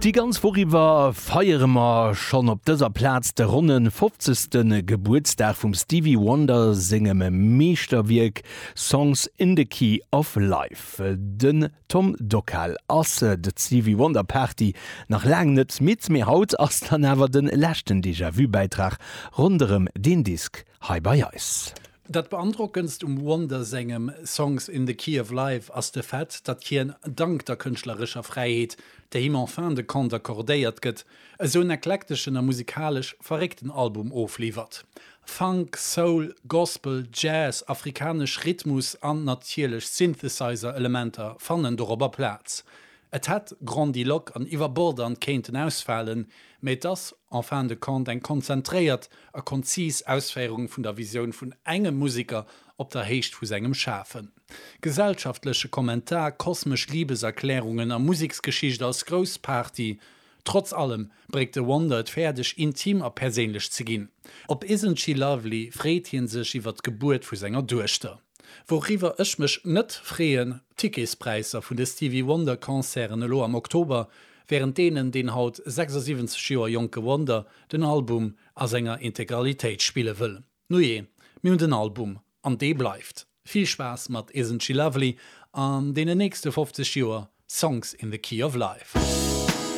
Déi ganz Woch iwwer feiere mer schonn op dëser Plaz de ronne 50. Gebuertsdag vum Stevie Wonder sengem Meeschterwierk Songs in the Key of Life. Den Tom Dockal ass d'Stevie Wonder Party nach laang net midd, mee haut ass dann awer de leschten Déjà-Vu-Bäitrag ronderëm deen Disk hei bei eis. Dat beandrockendst um Wonder sengem Songs in the Key of Life ass de Fait, datt hien, dank der kënschtlerescher Fräiheet, déi him en fin de compte accordéiert gëtt, esou en eklekteschen a musikalesch verréckten Album ofliwwert. Funk, Soul, Gospel, Jazz, afrikanesch Rhythmus an natierlech Synthesizer-Elementer fannen dorobber Plaz. Et hätt grandiloque an iwwerbordernd kéinten ausfalen, mee et ass en fin de compte eng konzentréiert a konzis Ausféierung vun der Visioun vun engem Museker op der Héicht vu sengem Schafen. Gesellschaftleche Kommentar, kosmesch Libeserklärungen a Museksgeschicht als grouss Party. Trotz allem bréngt de Wonder et fäerdeg, intim a perséinlech ze ginn. Op Isn't She Lovely freet hie sech iwwer d'Gebuert vu senger Duechter. Wouriwwer ech mech net freeën, d'Ticketspräisser vun de Stevie Wonder Concerten elo am Oktober, wärend deenen deen haut 76 Joer jonke Wonder den Album a senger Integralitéit spille wëll. Nujee, mir hunn den Album an dee bleift. Vill Spaass mat Isn't She Lovely an deenen nächste 50 Joer Songs in the Key of Life.